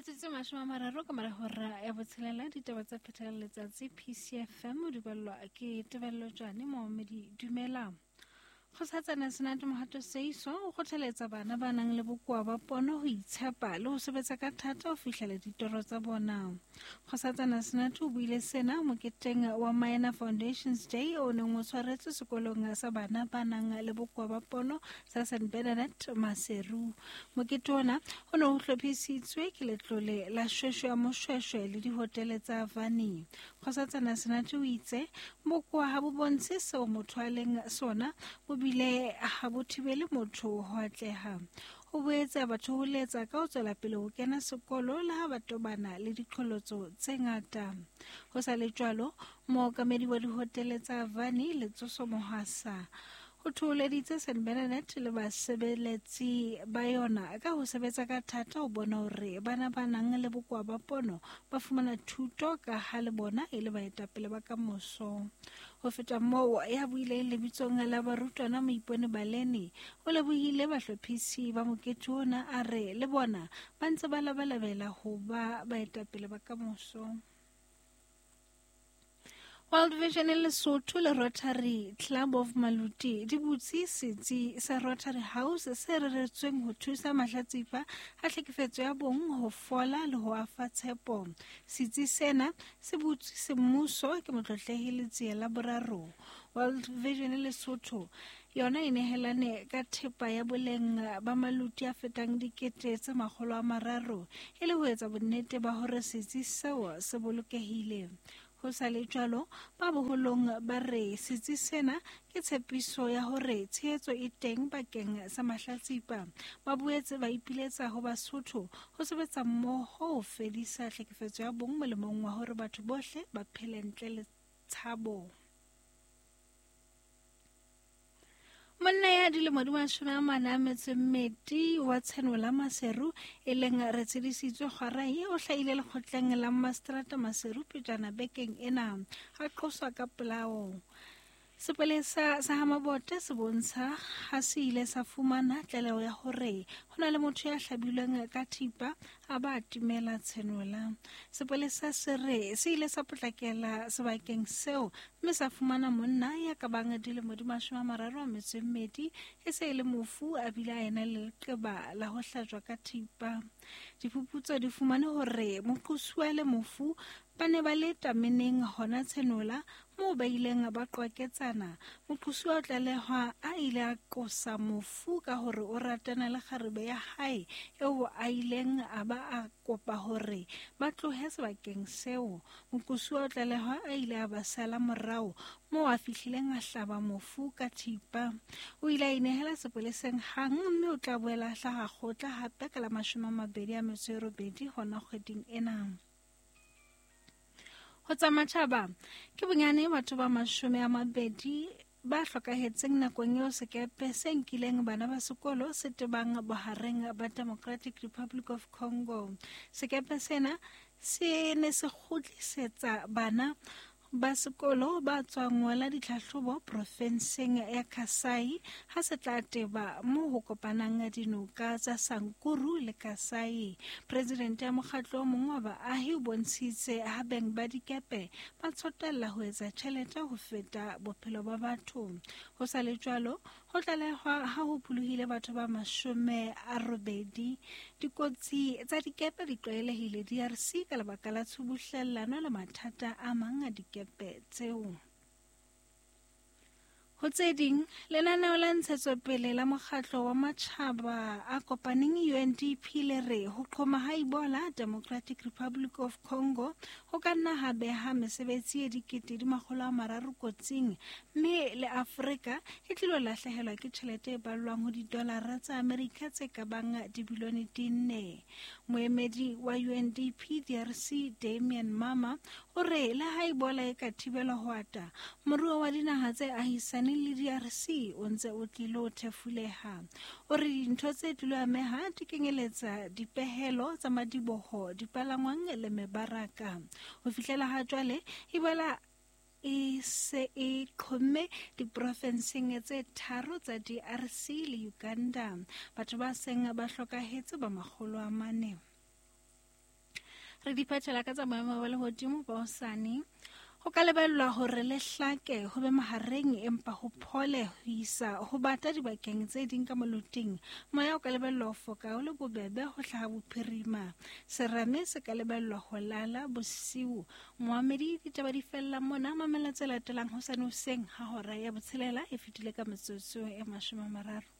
Metsotso e 30 ka mora hora ya botshelela, ditaba tsa phethela letsatsi PCFM o di ballwa ke Tebello Tjane. Moomedi dumela. Kgosatsana Senate Mohato Seiso o kgothaletsa bana ba nang le bokoa ba pono ho itshepa le ho sebetsa ka thata ho fihlela ditoro tsa bona. Kgosatsana Senate o buile sena moketeng wa Minor Foundations Day o neng o tshwaretswe sekolong sa bana ba nang le bokoa ba pono sa St. Bernadette Maseru. Mokete ona o ne o hlophisitswe ke letlole la Shweshwe ya Moshweshwe le dihotele tsa Vani. Kgosatsana Senate o itse bokoa ha bo bontshe seo motho a leng sona, bo bile ha bo thibele motho ho atleha. O boetse a ba thoholetsa ka ho tswela pele ho kena sekolo le ha ba tobana le diqholotso tse ngata. Ho sa le jwalo, mookamedi wa dihotele tsa Vani, Letsoso Mohwasa, o thoholeditse St. Bernadette le basebeletsi ba yona ka ho sebetsa ka thata ho bona hore bana ba nang le bokoa ba pono ba fumana thuto ka ha le bona e le baetapele ba kamoso. Ho feta moo, ya buileng lebitsong la barutwana Moipone Baleni o lebohile bahlophisi ba mokete ona, a re le bona ba ntse ba labalabela ho ba baetapele ba kamoso. World Vision Lesotho le Rotary Club of Maluti di butse setsi sa Rotary House se reretsweng ho thusa mahlatsipa a tlhekefetso ya bong ho fola le ho afa tshepo. Setsi sena se butswe semmuso ke Motlotlehi Letsie la boraro. World Vision Lesotho yona e nehelane ka thepa ya boleng ba maluti a fetang 300,000 e le ho etsa bonnete ba hore setsi seo se bolokehile. Ho sa le jwalo, ba boholong ba re setsi sena ke tshepiso ya hore tshehetso e teng bakeng sa mahlatsipa. Ba boetse ba ipiletsa ho Basotho ho sebetsa mmoho ho fedisa tlhekefetso ya bong molemong wa hore batho bohle ba phele ntle le tshabo. Monna ya dilemo di 42 wa Tshenola Maseru e leng re tshedisitswe Kgwarai o hlahile lekgotleng la Mastrata Maseru pejana bekeng ena a qoswa ka polao. Sepolesa sa Hamabote se bontsha ha se ile sa fumana tlaleho ya hore ho na le motho ya hlabilweng ka thipa a ba timela Tshenola. Sepolesa se re se ile sa potlakela sebakeng seo mme sa fumana monna ya ka bang dilemo di 32 e se e le mofu a bile a ena le leqeba la ho hlajwa ka thipa. Diphuputso di fumane hore moqosuwa le mofu ba ne ba le tameneng hona Tshenola moo ba ileng ba qwaketsana. Moqosuwa o tlalehwa a ile a qosa mofu ka hore o ratana le kgarebe ya hae eo a ileng a ba a kopa hore ba tlohe sebakeng seo. Moqosuwa o tlalehwa a ile a ba sala morao moo a fihlileng a hlaba mofu ka thipa. O ile a inehela sepoleseng hang mme o tla boela a hlaha kgotla hape ka la 28 hona kgweding ena. Ho tsa matjhaba ke bonyane batho ba 20 ba hlokahetseng nakong eo sekepe se nkileng bana ba sekolo se tebang bohareng ba Democratic Republic of Congo. Sekepe sena se ne se kgutlisetsa bana ba sekolo ba tswang ngola ditlhahlobo profenseng ya Kasai ha se tla teba moo ho kopanang dinoka tsa Sankuru le Kasai. Presidente ya mokgatlo o mong wa baahi o bontshitse ha beng ba dikepe ba tsotella ho etsa tjhelete ho feta bophelo ba batho. Ho sa le jwalo, ho tlalehwa ha ho pholohile batho ba 80. Dikotsi tsa dikepe di tlwaelehile DRC ka lebaka la tshubuhlellano le mathata a mang a dikepe tseo. Ho tse ding, lenaneo la ntshetsopele la mokgatlo wa matjhaba a kopaneng UNDP le re ho qhoma ha Ebola Democratic Republic of Congo ho ka nna ha beha mesebetsi e 300,000 kotsing, mme le Afrika e tlilo lahlehelwa ke tjhelete e ballwang ho didolara tsa Amerika tse ka bang dibilione 4. Moemedi wa UNDP DRC Damien Mama o re le ha Ebola e ka thibelwa ho ata, moruo wa dinaha tse ahisaneng le DRC o ntse o tlilo thefuleha. O re dintho tse tlilo ameha di kenyeletsa dipehelo tsa madiboho, dipalangwang le mebaraka. Ho fihlela ha jwale, Ebola e se e qhomme diprofenseng tse 3 tsa DRC le Uganda. Batho ba seng ba hlokahetse ba 400. Re di phethela ka tsa boemo ba lehodimo ba hosane. Ho ka lebellwa hore le hlake ho be mahareng empa ho phole ho isa ho bata dibakeng tse ding ka moloting. Moya o ka lebellwa ho foka o le bobebe ho hlaha bophirima. Serame se ka lebellwa ho lala bosiu. Moamedi ditaba di fella mona, mamela tse latelang hosane hoseng ha hora ya botshelela e fetile ka metsotso e 30.